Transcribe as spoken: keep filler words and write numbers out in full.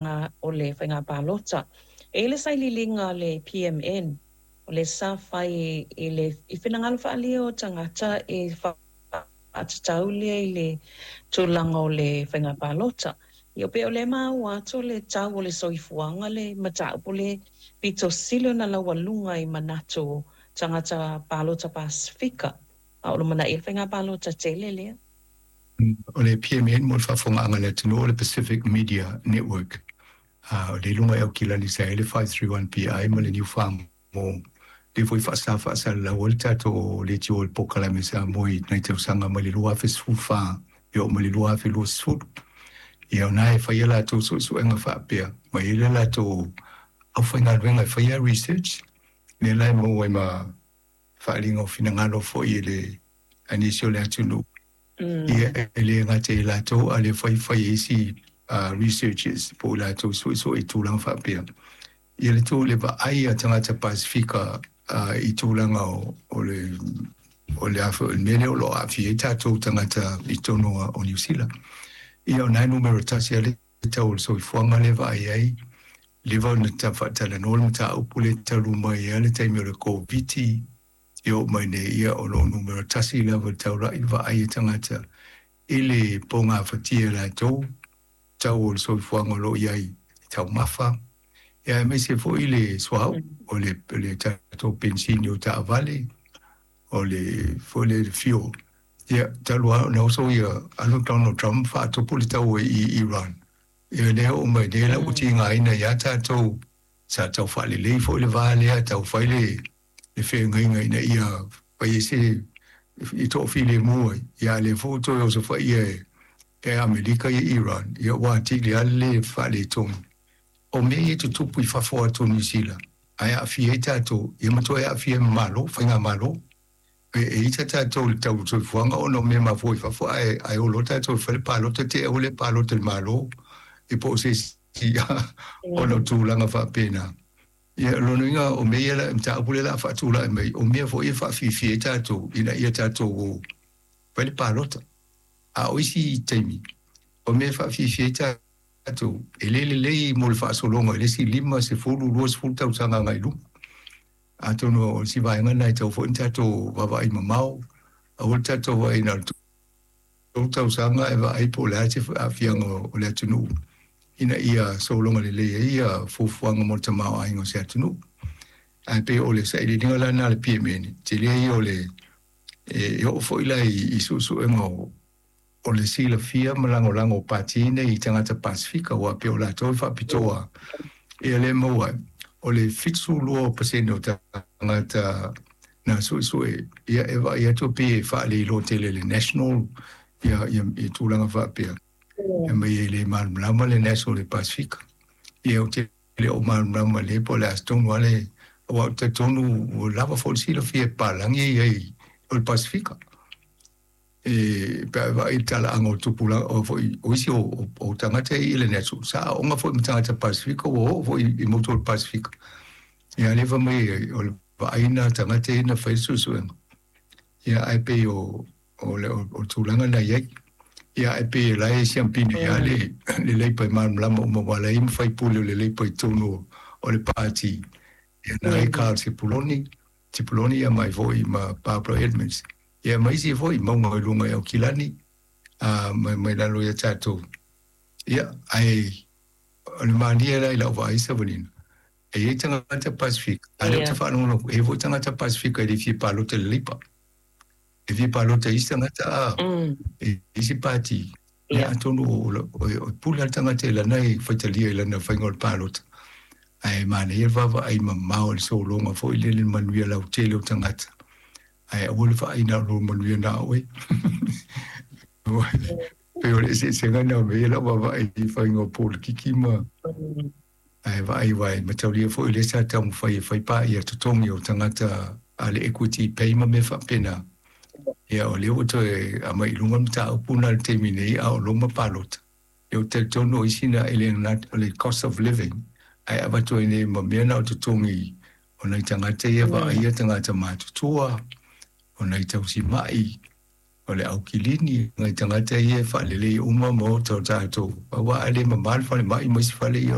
o le faiga palota. E i ai le sailiiliga a le P M N, o le sa fai i le i finagalo faaalia o tagata e faatatau lea i le tulaga o le faiga palota. Ia pei o le maua atu le tau o le soifuaga le mataupu le pito sili ona laualuga i manatu tagata palota Pasifika. A o lo mana i le faiga palota tele lea. O le P M N mo le faafofogaaga a le atunuu o le Pacific Media Network. O le iluga e aukilani sa i ai le five three one P I ma le New Farm mo le foi faasa faasalalau ai le tatou leitio o le polokalame Samoa i nai tausaga mai le lua afe sefulu fa e oo mai le lua afe lua sefulu. Ia o na e faia latou suesuega faapea, ma i ai le latou aufaigaluega e faia research, lea la e maua ai ma faaaliga o finagalo foi i le a nisi o le atunuu. Ia e le gata i latou, a le fai fai e isi uh, researchers po o latou suesue i tulaga faapea. Ia le tu le vaai a tagata Pasifika uh, i tulaga o, o le o le afa o le mea lea o lo o aafia ai tatou tagata i totonu o Niu Sila. Ia o nai numero tasi a le tau o le soifuaga lea vaai ai, leva ona ta faatalanoa le mataupu le talu mai ai le taimi o le Koviti e oo mai nei, ia o lo o numero tasi lava le taulai le vaai a tagata i le pogafatia e latou tau o le soifuaga o lo o i ai i taumafa, ia aemaise foi le suauu, o le, le tatou pensini o taavale, o le foi le fuel. Ia talu lava ona oso ia alu Donald Trump faatupu le tau i Iran. Ia lea oo mai nei la ua tigaina ia tatou sa tau faalelei foi le va lea tau fai le le feagaiga ina ia fai ai se i toafilemu ai. Ia lea foi ua toe osofaia e e Amerika ia Iran, ia ua atili lava le le faaletonu. O mea ia e tutupu i fafo atu o Niu Sila, ae aafia ai tatou, ia ma toe aafia ai ma Malo, faigamalo. E, e ita tatou i le tau o le soifuaga ona o mea mafua i fafo, ae, ae o loa tatou e fai le palota, te i ua le palota i le Malo, e po o se isi ona o tulaga faapena. Ia, o lona uiga o mea ia la, mataupu lea o le a faatulai mai, o mea foi e faafiafia ai tatou ina ia tatou fai le palota. A o isi taimi, o mea e faafiafia ai tatou, e le lelei mo le faasologa i le isi lima, sefulu, luasefulu tausaga agai i luma. Atonu o si vaega lena e tatau foi ona tatou vaavaai mamao, aua le tatou vaai na o le tolu tausaga e vaai po o le a se aafiaga o le atunuu ina ia sologa lelei ai ia fuafuaga mo le tamaoaiga o se atunuu. Ae pei o le sailiiliga la lena a le P M N, tele ia o le e oo foi la i, i suesuega o o le silafia ma lagolago o pati nei i tagata Pasifika, aua pei o latou e faapitoa ia le maua ai. O le fitu lua pasene o tagata na suesue, ia e vaai atu pei e faaleiloa tele le National ia, ia, ia tulaga faapea. E mai e le malamalama le National le Pasifika. Ia ou te le o malamalama le po o le a se tonu lava le, aua ou te talitonu ua lava foi le silafia e papalagi e i ai o le Pasifika. E pe a e vaai i le talaaga o tupulaga o foi o isi o, o, o tagata i le National, sa aoga foi ma tagata Pasifika ua oo foi i motu o le Pasifika. Ia lea fai mai o le vaai na tagata ia na fai le suesuega. Ia ae pei o, o le, o, o le tulaga na i ai. Ia ae pei e la e siampine ia le, le Leipa e malamalama uma aua la e i ai ma faipule o le Leipa i totonu o le pati. Ia na ai Carl Sepuloni, Sepuloni ia mai foi ma Barbara Edmonds. Ia ma isi foi mauga i luga i Aukilani, a mai, mai lalo ia tatou. Ia, ae o le malie la i lau vaai Savalina, e i ai tagata Pasifika, a lea ou te faalogologo, e i ai foi tagata Pasifika e le fia palota i le Leipa. E fia palota i isi tagata a, i isi pati. Ia atonu o, o, o pule a le tagata i lana e faitalia i lana faiga o le palota. Ae manaia le vaavaai mamao i le sologa foi lele le manuia lautele o tagata. Ae aua le vaai na o lou manuia na oe. Pei o le eseesega lena o mea ia lau vaavaai i faiga o polokiki ma ae vaai aua e mataulia foi lea sa taumafai e fai paia totogi o tagata a le Equity Pay ma mea faapena. Ia o lea ua toe aumai i luga le mataupu na i le taimi nei a o loma palota. Ia ou te talitonu o isi na e le o le cost of living ae avatu ai nei ma mea na o totogi o nai tagata ia vaaia tagata matutua, o nai tausimai, O le aukilini ngai tagata ia e faalelei uma ma otaota tatou, auā a le mamā le falemai ma isi fale ia.